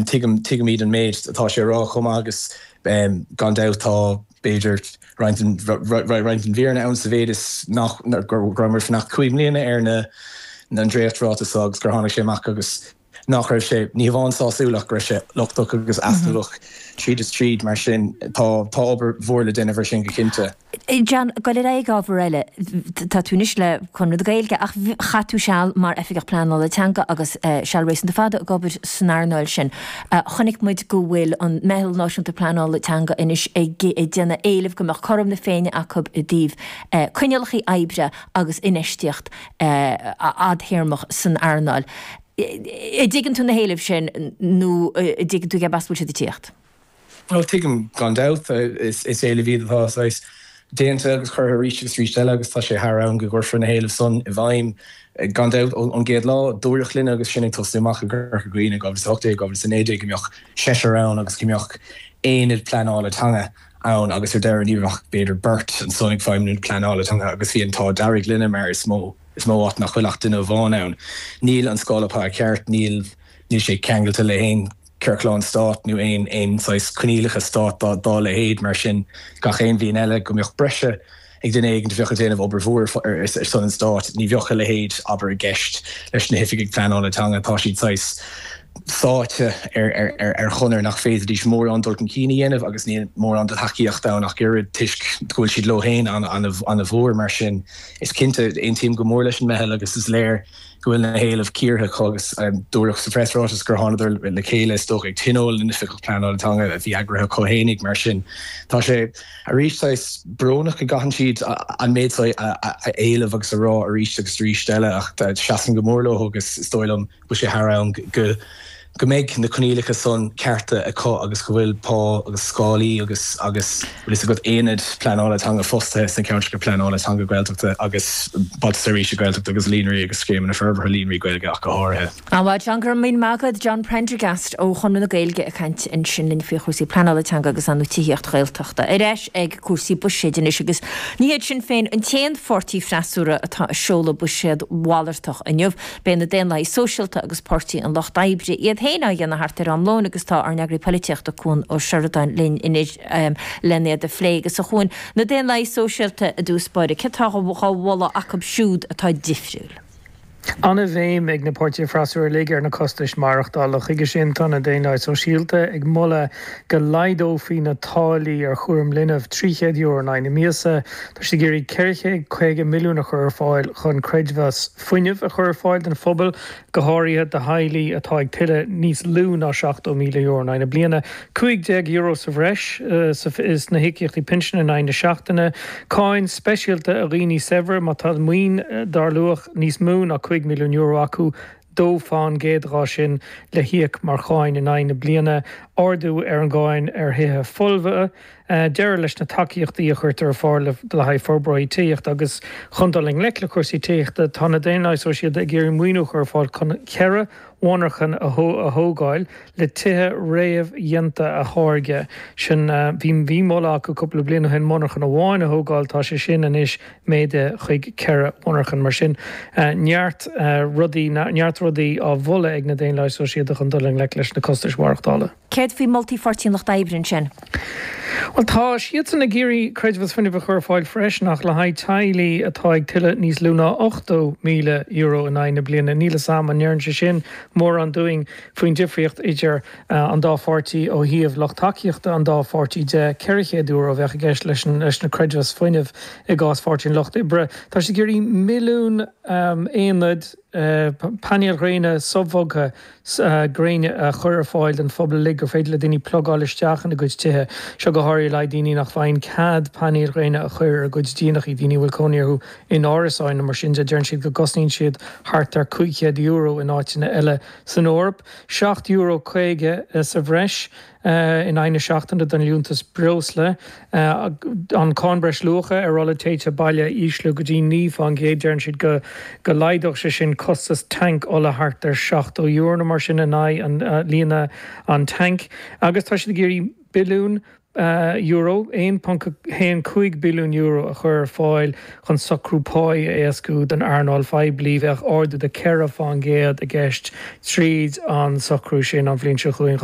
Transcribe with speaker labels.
Speaker 1: Tuigim, tuigimid an méid atá sé a rá chomh maith agus gan dabht tá, b'fhéidir, roinnt den, roinnt den bhfírinne ann sa mhéid is nach, go rabhamar ag fanacht 5 mbliana ar na, an dréacht-ráiteas seo agus gur tháinig sé amach agus nach raibh sé, ní hamháin sásúil ach go raibh sé lochtach agus easnamhach tríd is tríd. Mar sin tá, tá obair mhór le déanamh ar sin go cinnte.
Speaker 2: John, dul ar aghaidh ag ábhar eile, tá tú anois le Conradh na Gaeilge ach chaith tú seal mar Oifigeach Pleanála Teanga agus seal réasúnta fada ag obair san earnáil sin. Chonaic muid go bhfuil an Meitheal Náisiúnta Pleanála Teanga anois ag déanamh éilimh go mbeadh cothrom na Féinne acu i dtaobh coinníollacha oibre agus infheistíocht fhadthéarmach san earnáil. An dtuigeann tú na héilimh sin nó an dtuigeann tú cérb as a bhfuil siad ag tíocht?
Speaker 1: Bhuel, tuigim gan dabht. Is éilimh iad atá saghas déanta agus curtha arís agus arís eile agus tá sé thar am go gcuirfear na héilimh san i bhfeidhm. Gan dabht, ón gcéad lá, dúradh linne agus sinn ag tosnú amach i gCorca Dhuibhne in 2018, 2019 go mbeadh seisear ann agus go mbeadh aonad pleanála teanga ann agus ar deireadh ní raibh ach b'fhéidir beirt ansan ag feidhmiú na pleanála teanga agus bhí an t-ádh dearg linne mar is mó is mó áit nach bhfuil ach duine amháin ann. Níl an scála pá ceart, níl níl sé ceangailte le haon ciorclán stáit nó aon aon saghas coinníollacha stáit dá dá leithéid. Mar sin, gach aon bhliain eile go mbeadh breise ag duine éigin a bheadh ag déanamh obair mhór ar son an stáit, ní bheadh a leithéid, abair, i gceist leis na hoifigigh pleanála teanga. Tá siad saghas sáite ar ar ar chonair nach bhféadfaidís mórán dul chun cinn a dhéanamh agus níl mórán de thacaíocht ann ach oiread toisc go bhfuil siad leo féin an-mhór. Mar sin, is cinnte, aontaím go mór leis an meitheal agus is léir go bhfuil na héilimh cíortha acu agus dúradh sa phreasráiteas gur thánadar le chéile is dócha ag tionól na n-oifigeach pleanála teanga a bhí eagraithe acu fhéinig. Mar sin tá sé arís saghas brónach go gcaitheann siad an méid seo a éileamh agus a rá arís agus arís eile ach seasaim go mór leo agus is dóigh liom go bhfuil sé thar am go go mbeidh na coinníollacha san cearta acu agus go bhfuil pá agus scálaí agus agus bhfuil fhios agat aonad pleanála teanga fostaithe sna ceantracha pleanála teanga Gaeltachta agus Bailte Seirbhíse Gaeltachta agus líonraí agus scéimeanna forbartha líonraí Gaeilge ach go háirithe.
Speaker 2: An-mhaith, John, go raibh míle maith agat. John Prendergast ó Chonradh na Gaeilge ag caint ansin linn faoi chúrsaí pleanála teanga agus ar ndóigh tithíocht Ghaeltachta. Ar ais ag cúrsaí buiséid anois agus ní hiad Sinn Féin an t-aon pháirtí freasúra atá ag seoladh buiséad mhalartach inniu. Beidh na Daonlathaigh Sóisialta agus Páirtí an Lucht Oibre iad féin á dhéanamh thart ar am lóin agus tá ár n-eagraí polaitíochta Cuan Ó Seireadáin linn anois len iad a phlé. Agus a Chuain, na Daonlathaigh Sóisialta i dtús báire, céard atá á mholadh acu siúd atá difriúil?
Speaker 3: An-bhéim ag na páirtithe freasúra uilig ar na costais maireachtála. Chuige sin tá na Daonlathaigh Sóisialta ag moladh go laghdófaí na táillí ar chúram linbh €300 in aghaidh na míosa. Tá siad ag iarraidh 450 milliún a chur ar fáil chun creidmheas fuinnimh a chur ar fáil don phobal, go háirithe do theaghlaigh atá ag tuilleadh níos lú ná €70,000 in aghaidh na bliana. €15 sa bhreis sna híocaíochtaí pinsin in aghaidh na seachtaine. Cáin speisialta ar dhaoine saibhre má tá maoin dar luach níos mó ná €5 milliún acu, 2% dhá sin le híoc mar cháin in aghaidh na bliana. Ardú ar an gcáin ar thithe folmha. Deireadh leis na tacaíochtaí a chuirtear ar fáil le haghaidh forbróirí tithíochta agus chun dul i ngleic le cúrsaí tithíochta, tá na Daonlathaigh Sóisialta ag iarraidh maoiniú a chur ar fáil chun 4 mhonarchan a thógáil le tithe réamhdhéanta a tháirgeadh. Sin, bhí moladh acu cúpla bliain ó shin monarchan amháin a thógáil, tá sé sin anois méadaithe chuig 4 mhonarchan. Mar sin, neart rudaí, neart rudaí á mholadh ag na Daonlathaigh Sóisialta chun dul i ngleic leis na costais mhaireachtála.
Speaker 2: Céard faoi mholtaí Pháirtí an Lucht Oibre ansin?
Speaker 3: Bhuel, tá siadsan ag iarraidh creidmheas fuinnimh a chur ar fáil freisin ach le haghaidh teaghlaigh atá ag tuilleadh níos lú ná €80,000 in aghaidh na bliana. Níl 'fhios a'm an ndeireann sé sin mórán dúinn faoin difríocht idir an dá pháirtí ó thaobh lucht tacaíochta an dá pháirtí de. €400 a bheadh i gceist leis na creidmheas fuinnimh i gcás Pháirtí an Lucht Oibre. Tá siad ag iarraidh milliún aonad painéil ghréine sobhogtha gréine a chur ar fáil don phobal uilig gur féidir le daoine plugáil isteach ina gcuid tithe. Seo go háirithe le haghaidh daoine nach bhfaigheann cead painéil ghréine a chur ar a gcuid díonachaí, daoine a bhfuil cónaí orthu in árasáin nó mar sin de. Deireann siad go gcosnaíonn siad thart ar €500 in áiteanna eile san Eoraip. €7.50 sa bhreis. in aghaidh na seachtaine don liúntas breosla, an cáin breisluacha ar ola téite baile a ísliú go dtí 9%. Deireann siad go go laghdódh sé sin costas tanc ola thart ar €70 nó mar sin in aghaidh an líonadh an tanc. Agus tá siad ag iarraidh billiún. Euro, €1.15 billiún a chur ar fáil chun socrú páí a éascú don earnáil phoiblí. Bheadh ardú de 4 fán gcéad i gceist tríd an socrú sin an bhliain seo chugainn, 2024.